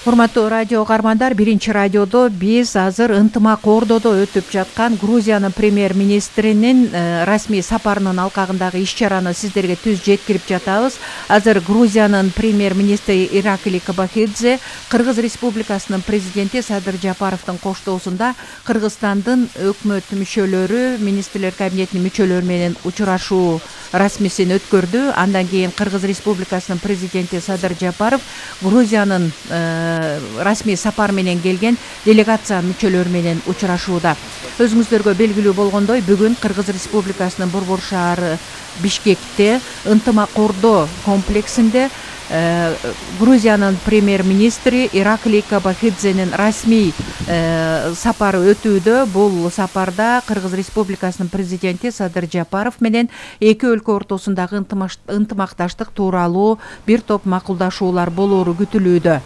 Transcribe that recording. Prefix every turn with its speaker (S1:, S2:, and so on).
S1: Урматтуу радио угармандар, биринчи радиодо биз азыр ынтымак ордодо өтүп жаткан Грузиянын премьер-министринин расмий сапарынын алкагындагы иш-чараны сиздерге түз жеткирип жатабыз. Азыр Грузиянын премьер-министри Иракли Кобахидзе Кыргыз Республикасынын президенти Садыр Жапаровдун коштоосунда Кыргызстандын өкмөт мүчөлөрү, министрлер кабинетинин мүчөлөрү менен учурашуу расмисин өткөрдү. Андан кийин Кыргыз Республикасынын президенти Садыр Жапаров Грузиянын расмий сапар менен келген делегация мүчөлөрү менен учурашууда. Өзүңүздөргө белгилүү болгондой, бүгүн Кыргыз Республикасынын Борбор шаары Бишкекте ынтымак ордо комплексинде Грузиянын премьер-министри Иракли Кобахидзенин расмий сапары өтүүдө. Бул сапарда Кыргыз Республикасынын президенти Садыр Жапаров менен эки өлкө ортосундагы ынтымакташтык тууралуу бир топ макулдашуулар болоору күтүлүүдө.